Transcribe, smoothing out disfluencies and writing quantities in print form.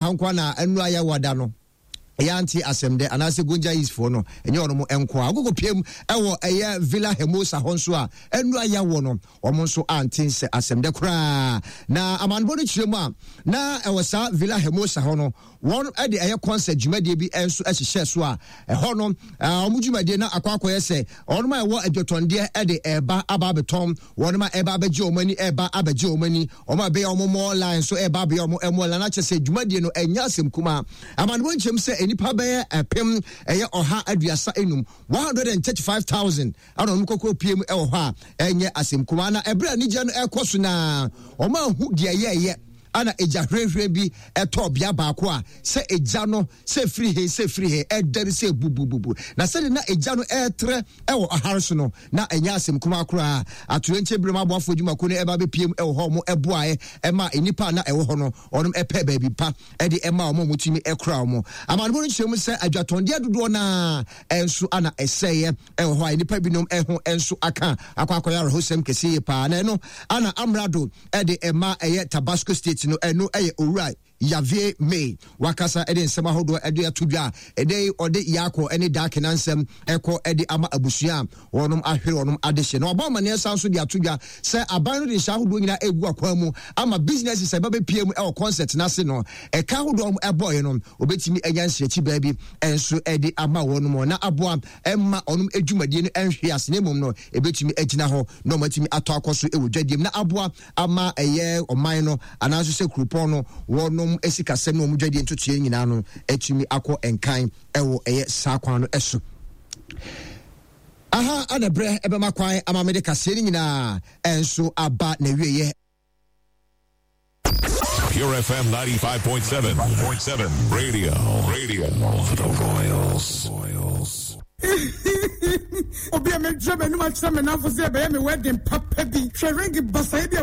Hankwa na ɛnura yɛ wada no yɛante asɛm dɛ anaasɛ Gonja East foɔ no ɛnyɛ wɔn nko a wɔkɔkɔ piem ɛwɔ ɛyɛ Villa Hermosa hɔ nso a ɛnura yɛwɔ no wɔn nso ante nsɛ asɛm dɛ koraa na amanebɔ no kyerɛ mu a na ɛwɔ saa Villa Hermosa hɔ no wɔn de ɛyɛ concert dwumadie bi nso hyehyɛ so a ɛhɔ no wɔn dwumadie na akɔ akɔyɛ sɛ wɔn a ɛwɔ adwatɔndeɛ de ɛreba aba abɛtɔn wɔn a ɛreba abɛgye wɔn ani ɛreba abɛgye wɔn ani wɔn a ɛbɛyɛ wɔn mɔɔ line nso ɛreba abɛyɛ wɔn mɔɔ line akyɛ sɛ dwumadie no ɛnyɛ asɛm kumaa. Amanebɔ nkyɛm sɛ nnipa bɛyɛ ɛpem ɛyɛ 135, 135,000 ɛna wɔn kɔkɔ pie mu ɛwɔ hɔ a ɛnyɛ asɛm kumaa. Na ɛberɛ a anigyeɛ no ɛkɔ so naa wɔn ahu deɛ ɛyɛɛyɛ ana egya hwirehwire bi ɛtɔɔ bea baako a sɛ egya no sɛ firi he sɛ firi he ɛdɛre sɛ bubububu na sɛde na egya no ɛretrɛ ɛwɔ ɔhare so no na ɛnyɛ asɛm kumaa koraa. Atoyerɛnkyɛm binom aboafoɔ adwumakuo no ɛba bɛpiem ɛwɔ hɔ wɔn ɛboaeɛ ɛma nnipa a na ɛwɔ hɔ no wɔn ɛpɛ baabi pa ɛde ɛma wɔn a wɔtumi ɛkora wɔn. Amanebɔ no kyerɛ mu sɛ adwatɔndeɛ dodoɔ no ara ɛnso ana ɛsɛeɛ ɛwɔ hɔ a nnipa binom ɛho ɛnso aka akɔ akɔyɛ awerɛhosɛm kɛseɛ yie paa na ɛno ana amrado ɛde ɛma ɛyɛ Tabasco State no ɛno ɛyɛ owura Javier May wakasa de nsɛm ahodoɔ de ato dwa a ɛdɛ yi ɔde Yaakɔ ne Daakena nsɛm ɛkɔ de ama abusua a wɔnom ahwere wɔnom adehye. Na wabɔ amaneɛ san so de ato dwa sɛ aban no de nhyɛ ahodoɔ nyinaa ɛgu akwan mu ama businesses a ɛba bɛpie mu ɛwɔ concert no ase no ɛka ahodoɔ a ɛbɔeɛ no wɔbɛtumi anya nhyerɛkyi baa bi nso de ama wɔnom na aboa ɛmma wɔnom adwumadie no ɛnhwe ase na mmom no ɛbɛtumi agyina hɔ na wɔatumi atɔ akɔ so ɛwɔ dwadie mu na aboa ama ɛyɛ ɔman no anaa nso sɛ kuropɔn no wɔnom sikasɛm ne wɔn dwadie ntotoeɛ nyinaa no atumi akɔ nkan ɛwɔ ɛyɛ saa kwan no ɛso. Aha ana berɛ ɛbɛma kwan ama mede kaseɛ no nyinaa ɛnso aba n'awieɛ. Pure FM 95.7. 7 Radio. Radio for the Royals. Royals. Obi a mɛdwira m'anum akyerɛ me namfo sɛ ɛbɛyɛ me wedding papa bi. Hwɛ ring basae bi a.